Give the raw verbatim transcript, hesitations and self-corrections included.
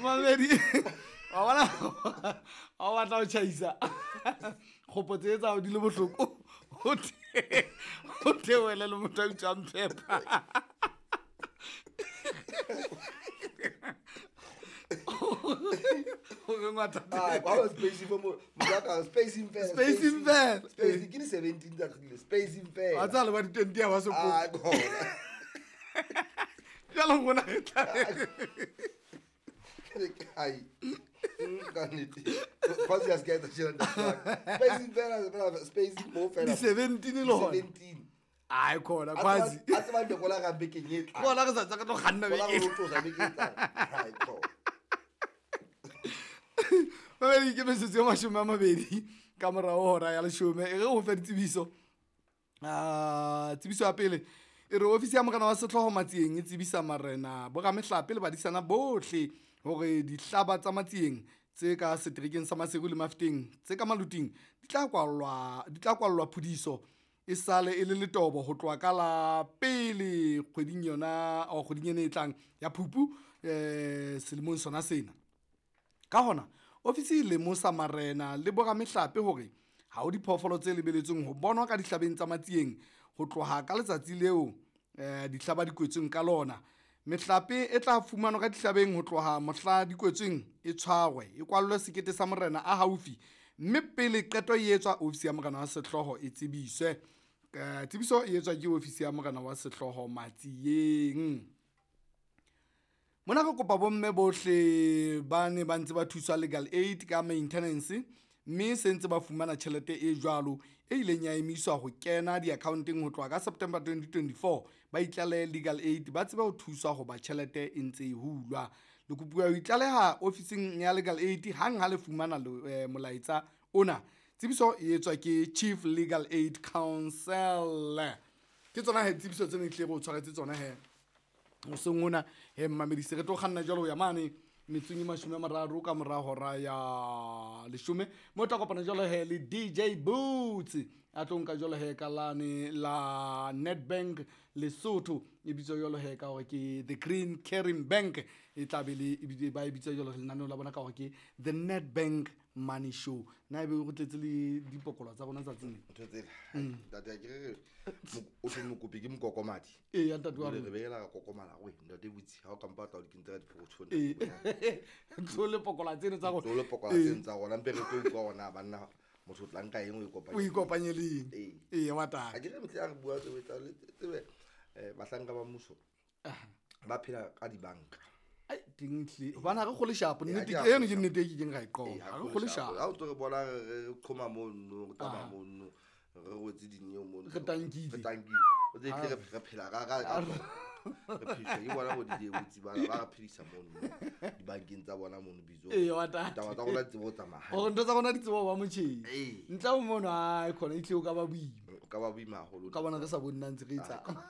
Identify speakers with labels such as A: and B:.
A: Mamedi, wa bona, ha o batla ho tjhaisa kgopo tse tsa hao di le bohloko, o the- o theohele le motho a utswang phepa. O be ngata.
B: Ah, kwa ba space fo mo motho spacing fela.
A: Spacing fela.
B: Spacing ke di seventeen tsa kgile spacing fela.
A: Wa tseba le ba di-twenty ha ba so kope.
B: Ah, khona.
A: Jwale rona re tla
B: Ai. Ka nnete. Kwasi ya ska etsa tjena ntate. Spacing fela fela spacing mo fela.
A: Di-seventeen le hona.
B: Seventeen.
A: Ai khona
B: A tseba-
A: kwazi.
B: A tseba ndekola ga bekeng e tlang.
A: Bona re sa tswa ka tlo kganna
B: Kola
A: beke.
B: re tlosa beke e tlang. Ai khona.
A: Mamedi, ke metsotso e mashome a mabedi ka morao ho hora ya leshome. E re ho fe ditsebiso. Ah, tsebiso ya pele e re ofisi ya morena wa sehlooho Matsieng e tsebisa marena, boramehlape le badisana bohle hore dihlaba tsa Matsieng tse ka seterekeng sa Maseru le Mafeteng tse ka Maluting di tla kwallwa, di tla kwallwa phudiso e sale e le letobo ho tloha ka la pele kgweding yona, o kgweding ena e tlang ya Phupu, eh, selemong sona sena. Ka hona, ofisi e lemosa marena le boramehlape hore ha ho diphoofolo tse lebeletsweng ho bonwa ka dihlabeng tsa Matsieng ho tloha ka letsatsi leo, eh, dihlaba di kwetsweng ka lona. Mehlape e tla fumanwa ka dihlabeng ho tloha mohla di kwetsweng e tshwarwe, e kwallwe sekete sa morena a haufi, mme pele qeto e etswa ofisi ya morena wa sehlooho e tsebiswe. Eh, tsebiso e etswa ke ofisi ya morena wa sehlooho Matsieng. Mona re kopa bomme bohle ba ne ba ntse ba thuswa legal aid ka maintenance, mme se ntse ba fumana tjhelete e jwalo e ileng ya emiswa ho kena di-account-eng ho tloha ka September twenty twenty-four. Ba itlalehe legal aid ba tsebe ho thuswa hoba tjhelete e ntse e hulwa. Le kopuwa ho itlaleha ofising ya legal aid hang ha le fumana le, eh, molaetsa ona. Tsebiso e etswa ke Chief Legal Aid Council. Ke tsona he tsebiso tsena ehlile re o tshwaretse tsona he. Hoseng hona he mmamedi, se re tlo kganna jwalo ho ya mane metsong e mashome a mararo ka mora hora ya leshome, mo tla kopana jwalo he le D J Boots a tlo nka jwalo he ka lane la Nedbank Lesotho, e bitswa jwalo he ka hore ke the Green Caring Bank, e tla be le, ebile ba e bitsa jwalo lenaneo la bona ka hore ke the Nedbank Money Show. Na ebe o tletse le dipokolo tsa rona tsatsing lena?
B: Ntho tsela. Ntate, ha ke re re mo-, o thwe mokopi ke mokokomadi.
A: Ee, ya ntate wa
B: Jwale
A: rona.
B: re behela ra kokomala, we, ntate Botsi, ha o ka mpa tla o di kentse ka diphokothong,
A: Ee.
B: ntate Botsi.
A: Tlo le pokola tseno tsa rona.
B: Tlo le pokola
A: Ee.
B: tseno tsa rona, mpe re tlo utlwa hore na banna motho o tla nka eng o e kopanye
A: O ikopanye le eng?
B: Ee.
A: Ee, wa tata.
B: Ha ke re mehleng ha re bua tsebe tsa le tsebe, eh, bahlanka ba mmuso ba phela ka dibanka.
A: Ai, teng tle. Hobane ha re kgole shapo,
B: Ee,
A: nnete
B: ha
A: ke
B: ke
A: eno ke
B: kgole
A: nnete e ke keng ra e qoba.
B: Ee,
A: Ha
B: ha
A: re
B: re
A: kgole
B: kgole shapo.
A: shapo.
B: Ha o ntso re bona re, re qhoma mono, re tsamaya
A: Aha.
B: mono, re rwetse dineo mono.
A: Re tankile.
B: Re tankile. O tse tle re, re phela ka, ka, ka re phediswa ke bona bo D J Botsi bana, ba re phedisa mono, dibankeng tsa bona mono Bizong.
A: Ee, wa tata.
B: Ditaba tsa rona di tsebe ho tsamaya hantle.
A: Hore ntho tsa rona di tsebe ho ba motjheng.
B: Ee.
A: Ntle ho mono, hai, khona e tlile o ka ba boima.
B: O ka ba boima haholo.
A: O ka bona re sa bone na ntse re etsang.